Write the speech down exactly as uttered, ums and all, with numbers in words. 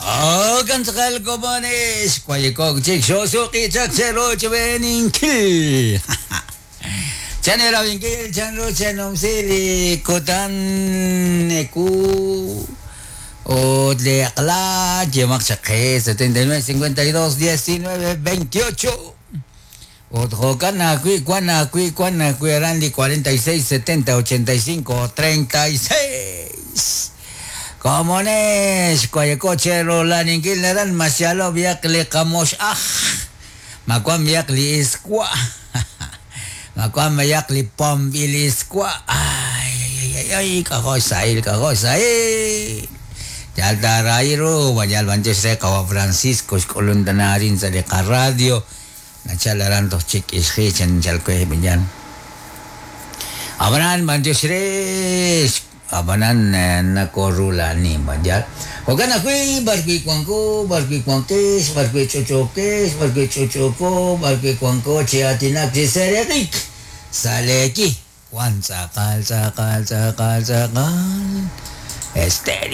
Ogan tz'aqal komones, kuayekok chik xosuqi chaq cherochb'eeninkil. Chanerabinkil chanru chanumsi li kutan eku ut li aqla yemaq chaq qe setenta y nueve cincuenta y dos diecinueve veintiocho. Ut jo'kan ajwi' wan ajwi' wan ajwi' aran li cuarenta y seis setenta ochenta y cinco treinta y seis. Komones, kuayekoche rolaninkil naran masialo biak li qamox aj. Makuan biak li iskwa. Makuan biak li pombil iskwa. Ay, ay, ay, ay, kajoy sahil, kajoy sahil. Yalta rairu, bayal banches re kawa Francisco, xk'ulundanarin sa li radio. Nachalaran toh chik isji chan chalkwe binyan. Abanan banches re abanan nakorula ni banjal. Ogan akui barkui kuanko, barkui kuankes, barkui chochokes, barkui chochoko, barkui kuanko chiatinak chiserekik. Saleki. Juan tzakal, tzakal, tzakal, tzakal. Esteri.